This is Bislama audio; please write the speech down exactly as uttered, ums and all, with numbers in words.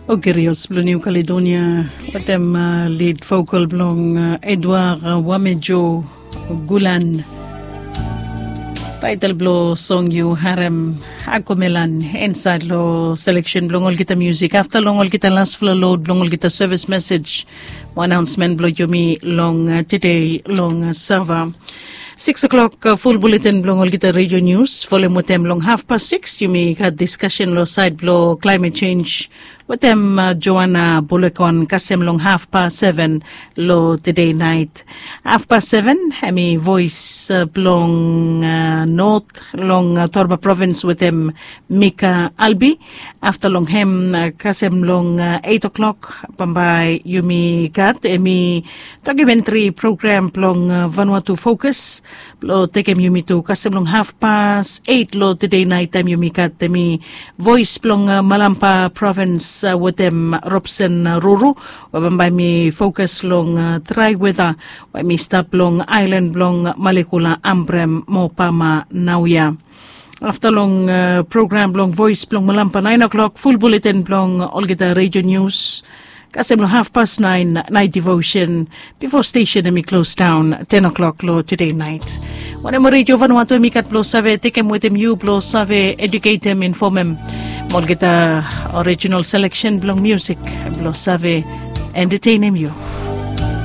Ogirios blong Niu Kaledonia wetem lid vokal blong Edward Wamejo Gulan. Taitel blong song yu harem Akomelan, insaed long seleksen blong olgeta musik. Afta long olgeta lasfala lod blong olgeta sevis mesej mo anaonsmen blong yumi long tede long Sava. Sikis klok, ful buletin blong olgeta redio nius folem wetem long hafpas sikis yumi gat diskasen long saed blong klaemet senj wetem Joana Bolekon kasem long hafpas seven long tede naet. Hafpas seven hem i voes blong not long Torba provins wetem Mika Albi. Afta long hem kasem long eit klok bambae yumi gat hem i dokumentri program blong Vanuatu Fokus blong tekem yumi tu kasem long hafpas eit long tede naet taem yumi gat hem i voes blong Malampa provins wetem Robson Ruru we bambae hem i fokus long drae weta we hem i stap long aelan blong Malekula, Ambrem mo Pama naoia. Afta long program blong voes blong Malampa naen klok, ful buletin blong olgeta redio nius kasem long hafpas naen naet divosen bifo stesen hem i klosdaon ten klok long tede naet. Wanem redio Vanuatu hem i gat blong save tekem wetem yu blong save eduketem, infomem mo olgeta orijinal seleksen blong musik blong save entetenem yu.